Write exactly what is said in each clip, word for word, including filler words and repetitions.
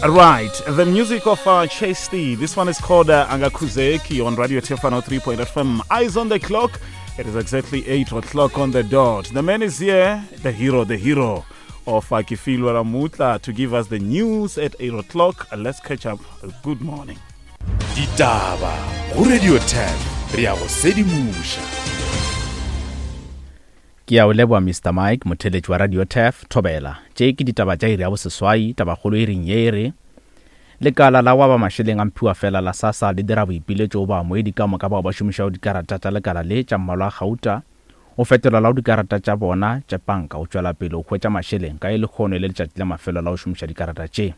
Right, the music of uh, Chasty. This one is called uh, Angakhuzeki on Radio Tefano three point F M. Eyes on the clock. It is exactly eight o'clock on the dot. The man is here, the hero, the hero of uh, Kefilwe Ramutla, to give us the news at eight o'clock. Uh, let's catch up. Uh, good morning. Ditaba go Radio ten, re a go sedimoša. Ke a o leboha Mister Mike, motheletši wa Radio Turf, Thobela. Tše ke ditaba tša iri ya boseswai, tabakgolo e reng ye e re lekala la wa ba mašeleng a mphiwa fela la SASSA le dira boipiletšo go baamogedi ka moka bao ba šomišago dikarata tša lekala le tša mmalwa a gauta go fetola la go dikarata tša bona tša panka go tšwela pele go hwetša mašeleng ka e lekgono e le letšatši la mafelo la go šomiša dikarata tše.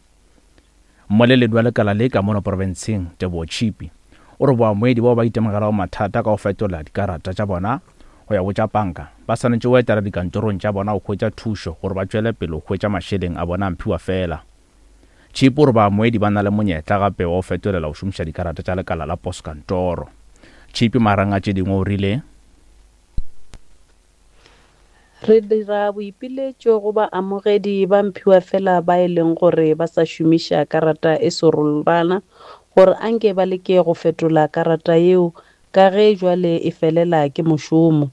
Mmoleledi wa lekala le ka mono profenseng, Teboho Chipi, o re baamogedi bao ba itemogelago mathata ka go fetola dikarata tša bona go ya go tša panka ba swanetše go etela dikantorong tša bona go hwetša thušo gore ba tšwele pele go hwetša mašeleng a bona a mphiwa fela. Chipi o re baamogedi ba na le monyetla gape wa go fetolela go šomiša dikarata tša lekala la postkantoro. Chipi magareng a tše dingwe o rile, Re dira boipiletšo go baamogedi ba mphiwa fela ba e leng gore ba sa šomiša karata e serolwana gore anke ba leke go fetola karata yeo ka ge jwale e felela ke mošomo.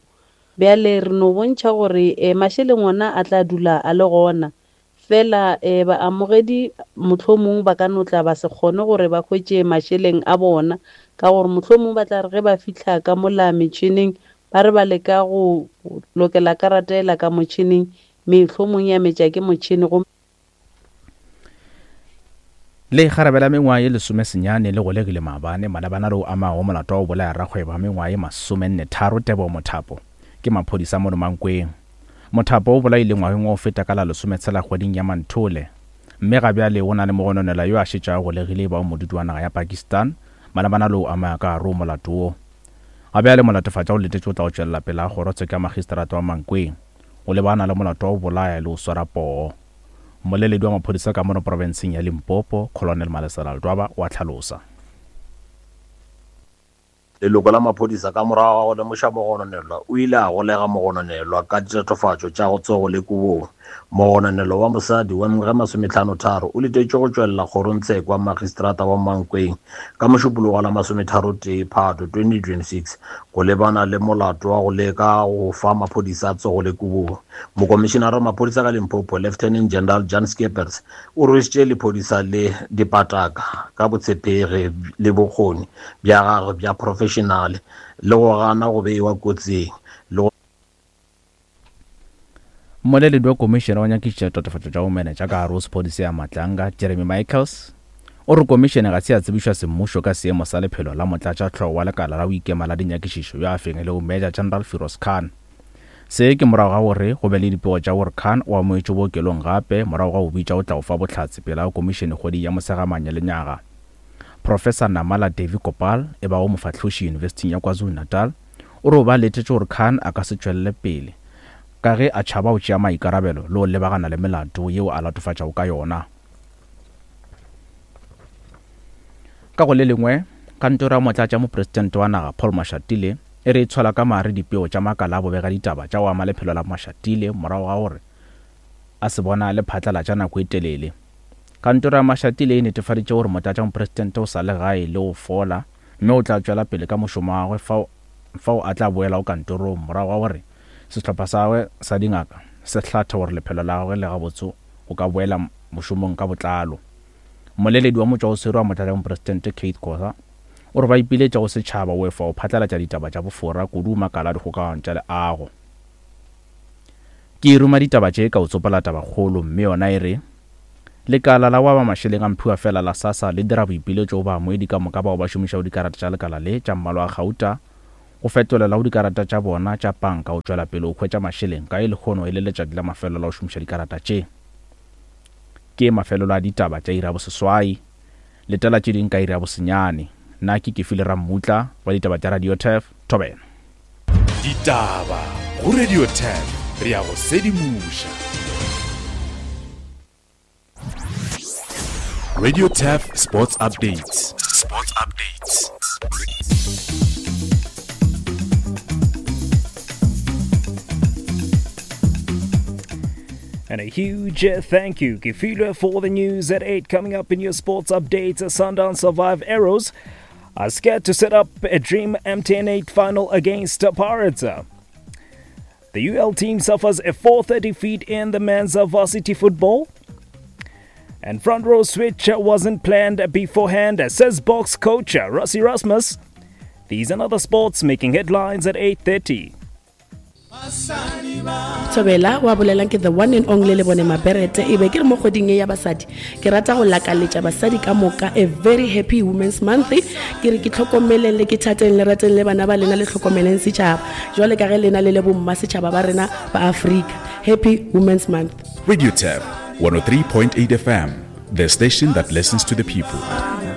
Bjale re no bontšha gore eh, mašeleng ona a tla dula a le gona fela eh, baamogedi mohlomong ba ka no tla ba se kgone gore ba hwetše mašeleng a bona ka gore mohlomong ba tla re ge ba fihla ka mola metšhineng ba re ba leka go lokela karata ela ka motšhineng, mehlomong ya metša ke motšhini go. Le kgarebe la mengwaga ye lesome senyane le golegile maabane malebana le o amago molato wa go bolaya rakgwebo wa mengwaga ye masomenne tharo Teboho Mothapo ke maphodisa mono Mankweng. Mothapo o bolaile ngwageng wa go feta ka la lesometshela kgweding ya Manthole, mme ga bjale o na le mogononelwa yo a šetšago golegile ba o modudi wa naga ya Pakistan malebana le o amaya ka gare ho molato wo. Ga bjale molatofatša o letetše o tla go tšwelela pele ga kgorotsheko ya magistrata wa Mankweng o lebana le molato wa go bolaya le go swara poo. Mmoleledi wa maphodisa ka mono profenseng ya Limpopo, Colonel Malesela Ledwaba, o a tlhalosa. Leloko la maphodisa ka morago ga go lemoša mogononelwa o ile a golega mogononelwa ka ditatofatšo tša go tsogo le kobong. Mogononelwa wa mosadi wa mengwaga e masometlhano tharo o letetše go tšwelela kgorongtsheko wa magistrata wa Mankweng ka mošupologo la masometharo tee Phato twenty twenty-six go lebana le molato wa go leka go fa maphodisa a tsogo le kobong. Mokomišenara wa maphodisa ka Limpopo, Lieutenant General Jan Skeepers, o rwešitše lephodisa le dipataka ka botshepegi le bokgoni bja gagwe bja professional le go gana go beiwa kotsing le go. Mmoleledi wa komišene wa nyakišiša tatofatšo tša bomenetša ka gare ho sephodisa ya Matlanga, Jeremy Michaels, o re komišene ga se ya tsebišwa semmušo ka seemo sa lephelo la motlatšahlogo wa lekala la go ikema la dinyakišišo yo a fengilego Major General Firoz Khan. Se ke morago ga gore go be le dipego tša gore Khan o amogetšwe bookelong gape morago ga go bitša go tla go fa bohlatse pele ga komišene kgweding ya Mosegamanye lenyaga. Professor Namala Devi Gopal, e bago mofahloši Yunibesithing ya KwaZulu-Natal, o re o ba letetše gore Khan a ka se tšwelele pele ka ge a tšhaba go tšea maikarabelo le go lebagana le melato yeo a latofatšago ka yona. Ka go le lengwe, kantoro ya motlatša mopresidente wa naga Paul Mashatile e re e tshola ka mare dipeo tša makala a bobega ditaba tša go ama lephelo la Mashatile morago ga gore a se bona le phatlalatša nako e telele. Kantoro ya Mashatile e netefaditše gore motlatša mopresidente o sa le gae le go fola mme o tla tšwela pele ka mošomo wa gagwe fao, fao a tla boela go kantorong morago ga gore sehlopha sa gagwe sa dingaka se hlathe gore lephelo la gagwe le gabotse go ka boela mošomong ka botlalo. Mmoleledi wa motšwaoswere wa motlatša mopresidente Kate Khoza o re ba ipiletša go setšhaba o efa go phatlalatša ditaba tša bofora kudu makala a dikgokagano tša leago. Ke ruma ditaba tše ka o tsopola tabakgolo mme yona e re lekala la wa ba mašeleng a mphiwa fela la SASSA le dira boipiletšo go baamogedi ka moka bao ba šomišago dikarata tša lekala le tša mmalwa a gauta go fetolela go dikarata tša bona tša panka go tšwela pele go hwetša mašeleng ka e lekgono e le letšatši la mafelo la go šomiša dikarata tše. Ke mafelelo a ditaba tša iri ya boseswai, letela tše ding ka iri ya bosenyane. Nna ke Kefile Rammutla wa ditaba tša Radio Turf, Thobela. Ditaba go Radio Turf, re a go sedimoša. Radio Turf Sports Updates. Sports Updates. And a huge thank you, Kefilwe, for the news at eight. Coming up in your sports updates, Sundown survive arrows are scared to set up a dream M T N eight final against Pirates. The U L team suffers a four thirty defeat in the men's varsity football. And front row switch wasn't planned beforehand, says Boks coach Rassie Erasmus. These and other sports making headlines at eight thirty. Thobela wa bolelang ke the one and only le bone Maberete e be ke re mo kgweding e ya basadi ke rata go lakaletša basadi ka moka a very happy Women's Month. Ke re ke tlhokomeleng le ke thateng le rateng le bana ba lena le tlhokomeleng setšhaba jwale ka ge lena le le bomma setšhaba ba rena ba Afrika. Happy Women's Month. Radio T E F one oh three point eight F M, the station that listens to the people.